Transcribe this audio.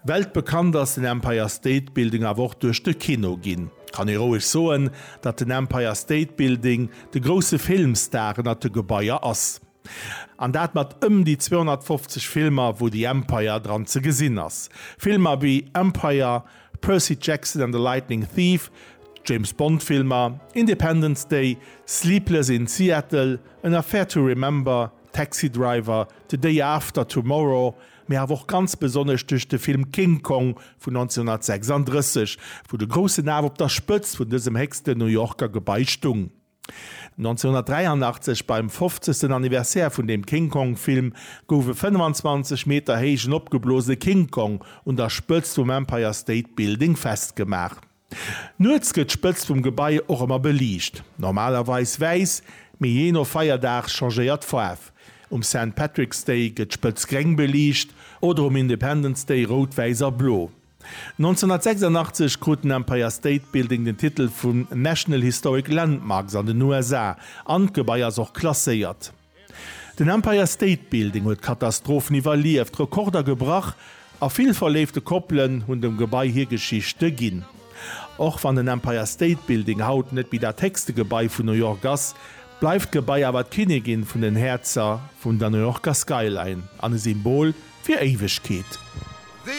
Weltbekannt ass den Empire State Building awer och duerch de Kino ginn. Kann ee roueg soen, datt den Empire State Building de grousse Filmstar ënnert de Gebaier ass. An dat mat ëm déi 250 Filmer, wou The Empire dran ze gesinn ass. Filmer wéi Empire, Percy Jackson and the Lightning Thief, James Bond Filmer, Independence Day, Sleepless in Seattle, An Affair to Remember, Taxi Driver, The Day After Tomorrow, mee awer och ganz besonnesch duerch de Film King Kong vun 1936, wou de groussen Af op der Spëtzt vun dësem héchsten New Yorker Gebai stung. 1983, beim fofzegsten Anniversaire vun deem King Kong Film, gouf e 25 Meter héijen opgeblosene King Kong un der Spëtzt vum Empire State Building festgemaach. Nuets gëtt d'Spëtzt vum Gebai och ëmmer beliicht, normalerweis wäiss, mee jee no Feierdag changéiert d'Faarf. Um Saint Patrick's Day gëtt d'Spëtz gréng beliicht oder um Independence Day rout, wäiss a blo. 1986 krut den Empire State Building den Titel vun National Historic Landmarks an den USA an d'Gebai ass och klasséiert. Den Empire State Building huet Katastrophen iwwerlieft, Rekorder gebrach a vill verléifte Koppelen hunn dem Gebai hir Geschichte ginn. Och wann den Empire State Building haut net méi dat héchste Gebai vun New York ass, bleift d'Gebai awer d'Kinnigin vun den Häerzer vun der New Yorker Skyline an e Symbol fir Éiwegkeet.